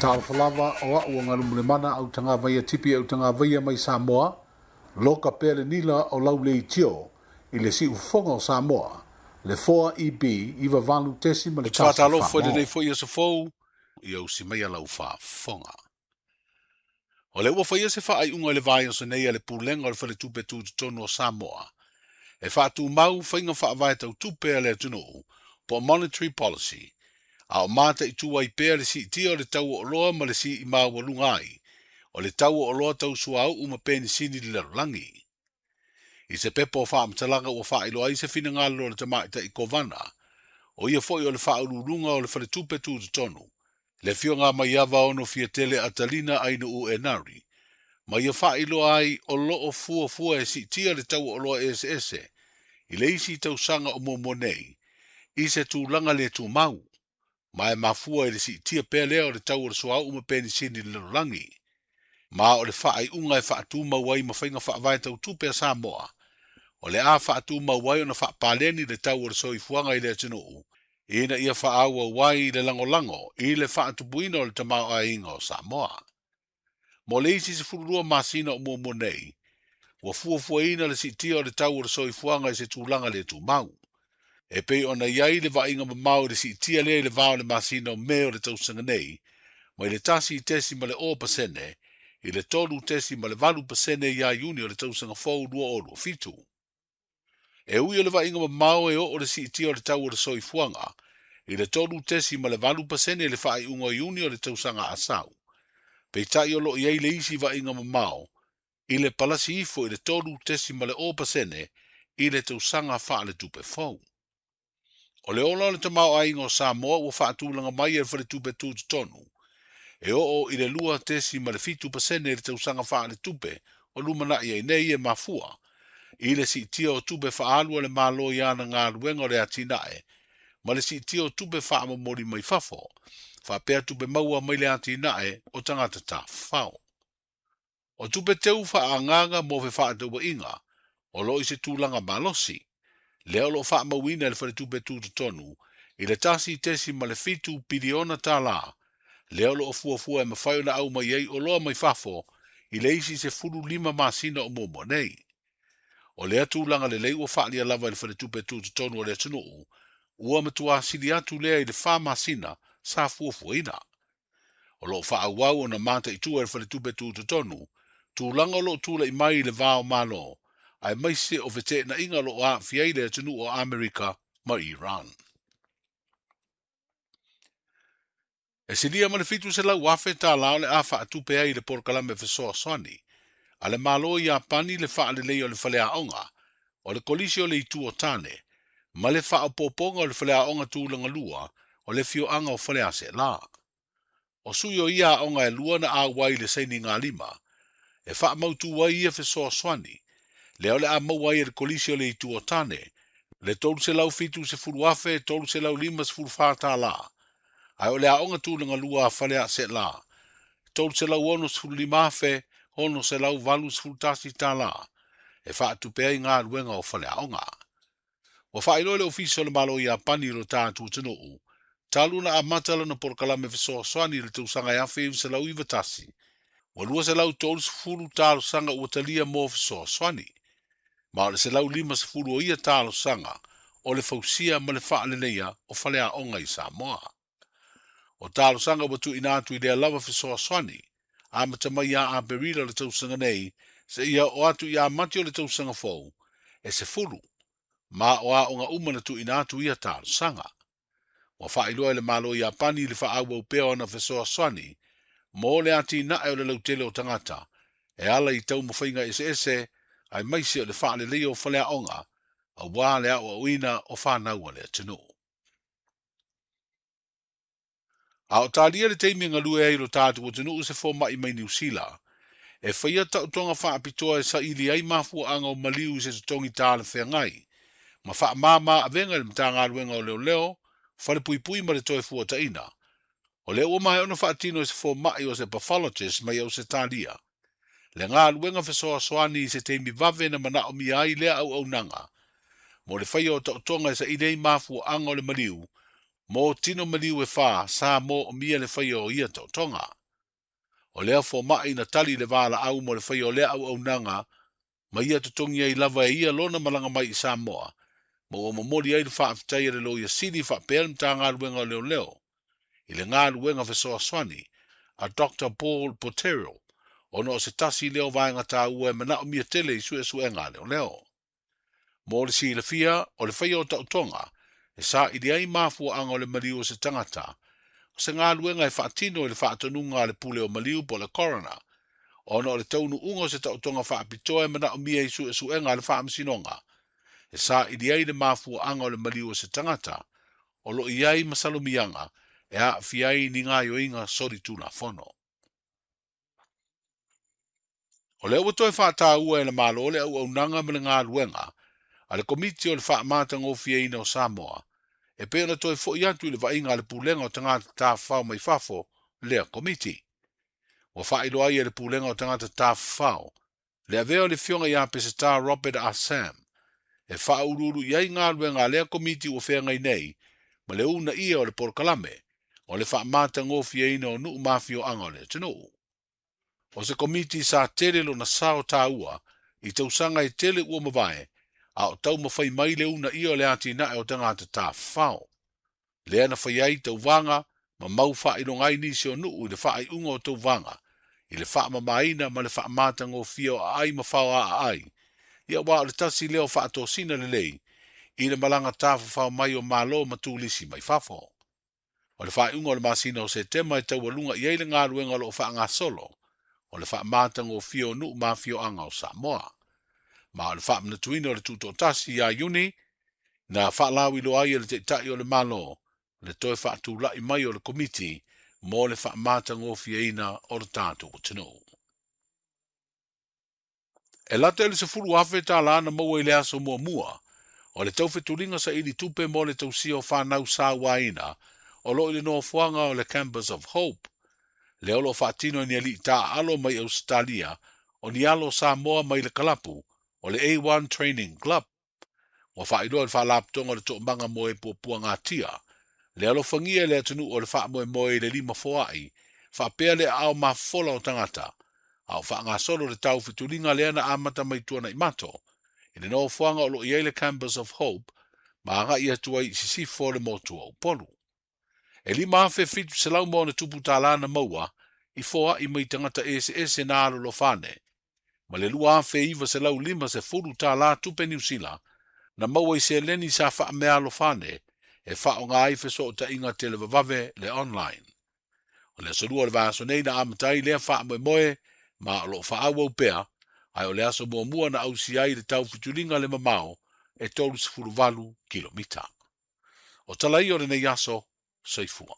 Talofa lava o a'u o Galumulemana au tagavaia tipi au tagavaia mai Samoa, loka pea le nila o lau leitio i le siufofoga o Samoa, le 4EB 98.1. Faatalofa i lenei foi aso fou, ia usi mai lau faafofoga. O le ua faia se faaiuga i le vaiaso nei a le Pulega o le Faletupe Tutotonu o Samoa, e faatumau faiga faavae tautupe a le atunuu, po o monetary policy, a o mataitu ai pea le siitia o le tau o oloa ma le sii maualuga ai, o le tau o oloa tau suauu ma penisini i le lalolagi. I se pepa o faamatalaga ua faailoa ai se finagalo o le tamaitai Kovana, o ia foi o le faauluuluga o le Faletupe Tutotonu, le afioga Maiava ono Fiatele Atalina Ainuu Enari, ma ia faailoa ai o loo fuafua e siitia le tau o oloa eseese i le isi tausaga o muamua nei, i se tulaga le tumau, ma e mafua i le siitia pea lea o le tau o le suauu ma penisini i le lalolagi. Ma o le faaiuga e faatumau ai ma faiga faavae tautupe a Samoa, o le a faatumau ai ona faapaleni le tau o le soifuaga i le atunuu, ina ia faaauau ai le lagolago i le faatupuina o le tamaoaiga o Samoa. Mo le isi 12 masina o muamua nei, ua fuafuaina le siitia o le tau o le soifuaga i se tulaga le tumau. E pei ona i ai le vaaiga mamao i le siitia lea i le va o le masina o Me o le tausaga nei, mai le 1.0% i le 3.8% ia Iuni o le tausaga fou 2027. E ui o le vaaiga mamao e oo le siitia o le tau o le soifuaga i le 3.8% i le faaiuga o Iuni o le tausaga asau. Peitai o loo i ai le isi vaaiga mamao i le palasi ifo i le 3.0% i le tausaga faaletupe fou. O le ola o le tamaoaiga o Samoa ua faatulaga mai e le Faletupe Tutotonu, e oo i le 2.7% i le tausaga faaletupe o lumanai ai nei e mafua i le siitia o tupe faaalu a le Malo i ana galuega o le atinae, ma le siitia o tupe faamomoli mai fafo, faapea tupe maua mai le atinae o tagata tafafao. O tupe teu faaagaga mo fefaatauaiga, o loo i se tulaga malosi, lea o loo faamauina e le Faletupe Tutotonu i le 1.7 piliona tala, lea o loo fuafua e mafai ona aumai ai oloa mai fafo i le isi 15 masina o muamua nei. O lea tulaga lelei ua faalia lava i le Faletupe Tutotonu o le atunuu, ua matua sili atu lea i le 4 masina sa fuafuaina. O loo faaauau ona mataitu e le Faletupe Tutotonu, tulaga o loo tulai mai i le va o Malo, aemaise o feteenaiga o loo aafia ai le atunuu o Amerika ma Iran. E silia ma le 700,000 tala o le a faatupe ai le polokalame fesoasoani a le Malo i Iapani le faalelei o le faleaoga, o le kolisi o le Itu o Tane, ma le faaopoopoga o le faleaoga tulaga lua o le afioaga o Faleaseela. O sui o ia aoga e lua na auai i le sainiga lima, e faamautu ai ia fesoasoani, lea o le a maua ai e le kolisi o le Itu o Tane, le 370,354 tala, ae o le aoga tulaga lua a Faleaseela, 365,681 tala, e faatupe ai galuega o faleaoga. Ua faailoa le Ofisa o le Malo o Iapani i lo tatou atunuu, talu na amata lana polokalame fesoasoani i le tausaga 1991, ua 230 talosaga ua talia mo fesoasoani, ma o le 150 o ia talosaga o le fausia ma le faaleleia o faleaoga i Samoa. O talosaga ua tuuina atu i lea lava fesoasoani, amata mai ia Aperila o le tausaga nei, seia oo atu ia Mati o le tausaga fou, e 10, ma o aoga uma na tuuina atu ia talosaga. Ua faailoa e le Malo o Iapani le faaauau pea o ana fesoasoani mo le atinae o le lautele o tagata, e ala i taumafaiga eseese aemaise o le faaleleia o faleaoga, aua le aoaoina o fanau a le atunuu. A o talia le taimi e galue ai lo tatou atunuu se fomai mai Niu Sila, e faia taotoga faapitoa e saili ai mafuaaga o maliu i se totogi talafeagai, ma faamama avega i le Matagaluega o Leoleo, Falepuipui ma le toe fuataina. O lea ua maea ona faatino e se fomai o se pathologist mai Ausetalia, le galuega fesoasoani i se taimi vave na manaomia ai lea auaunaga, mo le faia o taotoga e saili ai mafuaaga o le maliu, Mo tino maliu e 4 sa mo'omia le faia o ia ta'otoga. O lea foma'i na tali le valaau mo le faia o lea auaunaga ma ia totogi ai lava e ia lona malaga mai i Samoa, ma ua momoli ai le fa'afetai a le Loia Sili fa'apea le Matagaluega o Leoleo i le galuega fesoasoani a Dr Paul Poterio ona o se tasi lea o vaega tāua e mana'omia tele i su'esu'ega a leoleo. Mo le silafia o le faia o ta'otoga e sa'ili ai mafua'aga o le maliu o se tagata, o se galuega e fa'atino i le fa'atonuga a le pule o maliu po o le coroner, ona o le taunu'uga o se ta'otoga fa'apitoa e mana'omia i su'esu'ega a le fa'amasinoga e sa'ili ai le mafua'aga o le maliu o se tagata o lo'o i ai masalomiaga e a'afia ai ni gaoioiga solitulafono. O lea ua toe fa'atāua e le Malo le auaunaga ma le galuega a le Komiti o le Fa'amatagofieina o Samoa e pei ona toe fo'i atu i le vaaiga a le Pulega o Tagata Tafafao mai Fafo lea Komiti. Ua fa'ailoa ai e le Pulega o Tagata Tafafao le avea o le Afioga iā Peseta Robert Assam e fa'auluulu i ai galuega a lea Komiti ua feagai nei ma le uuna'ia o le polokalame o le fa'amatagofieina o nu'u ma afio'aga o le atunu'u. O se Komiti sa tele lona sao tāua i tausaga e tele ua mavae a o taumafai mai le uuna'ia o le atina'e o tagata tafafao. Lea na fai ai tauvaga ma mau fa'ailoga ai nisi o nu'u i le fa'ai'uga o tauvaga i le fa'amamāina ma le fa'amatagofie o a'ai ma fao a'aai, ia uā o le tasi lea o fa'atosina lelei i le malaga tafafao mai o Malo ma tulisi mai fafo. O le fa'ai'uga o le masina o Setema e taualuga i ai le galuega o lo'o fa'agasolo o le fa'amatagofie o nu'u ma afio'aga o Samoa. Ma o le fa'amanatuina o le tu'uto'atasi iā Iuni na fa'alauiloa ai e le Ta'ita'i o le Malo le toe fa'atula'i mai o le Komiti mo le fa'amatagofieina o le tatou atunu'u. E lata i le $10,000 tālā na maua i le aso muamua o le taufetuliga sa'ili tupe mo le tausia o fanau sauāina o lo'o i le nofoaga o le Campus of Hope. Lea o lo'o fa'atino e ni ali'i ta'aalo mai Ausetalia o ni alo Samoa mai le kalapu o le A1 Training Club. Ua fa'ailoa e le Fa'alapotoga o le To'omaga mo e Puapuagatia le alofagia e le atunu'u o le fa'amoemoe i le lima foa'i fa'apea le aao mafofola o tagata a o fa'agasolo le taufetuliga lea na amata mai tuana'i mato i le nofoaga o lo'o i ai le Campus of Hope ma aga'i atu ai i sisifo o le motu o Upolu. E 5,700 ma ona tupu tālā na maua i foa'i mai tagata eseese na alolofane, ma le 2,950 tālā tupe Niusila na maua i seleni sa fa'amealofane e fa'aoga ai feso'ota'iga televavave le online. O le aso lua o le vaiaso nei na amata ai lea fa'amoemoe ma o lo'o fa'aauau pea, ae o le aso muamua na ausia ai le taufetuliga le mamao e 38 kilomita. O tala ia o lenei aso, soifua.